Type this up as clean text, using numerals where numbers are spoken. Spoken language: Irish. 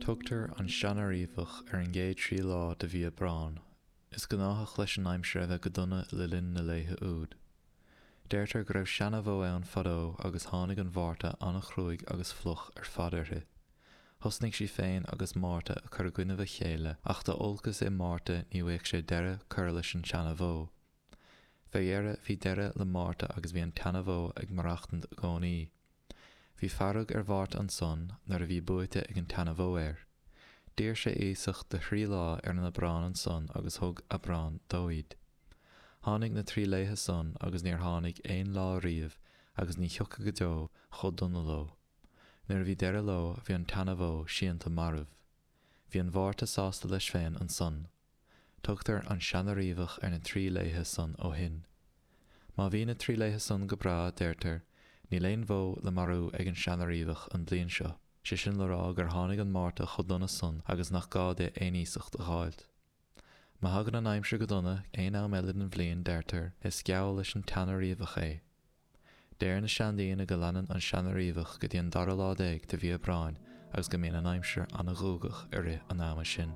Tugtar an Seana-Riabhach ar an gcéad trí lá de mhí Aibreáin. Is gnáthach leis an aimsir a bheith go dona le linn na laethe úd. Deirtear go raibh seana-bhó ann fadó agus tháinig an Mhárta an-chruaidh agus fliuch ar fad uirthi. Thosnaigh sí féin agus Márta a cur i gcoinnibh a chéile ach dá olcas é Márta ní bhfaigheadh sé deireadh curtha leis an tseana-bhó. Fé dheireadh bhí deireadh le Márta agus bhí an tseana-bhó ag maireachtaint i gcónaí. Bhí fearg ar Mhárta ansan nuair a bhí buaite ag an tseana-bhó air. D'iarr sé iasacht de thrí lá ar an Aibreán ansan agus thug Aibreán dó iad. Tháinig na trí laethe san agus níor tháinig aon lá riamh agus ní thiocfaidh go deo chomh dona leo. Nuair a bhí deireadh leo bhí an tseana-bhó síonta marbh. Bhí an Mhárta sásta leis féin ansan. Tugtar an Seana-Riabhach ar na trí laethe san ó shin. Má bhí na trí laethe san go breá, deirtear, níl aon bhó le marú ag an Seana-Riabhach an bhliain seo, sé sin le rá gur tháinig an Márta chomh dona san agus nach gá di aon iasacht a dh'fháilt. Má thagann an aimsir go dona aon am eile den bhliain, deirtear, is geall leis an tSeana-Riabhach é. Deir na seandaoine go leanann an Seana-Riabhach go dtí an dara lá de mhí Aibreáin agus go mbíonn an aimsir ana-ghuagach i rith an ama sin.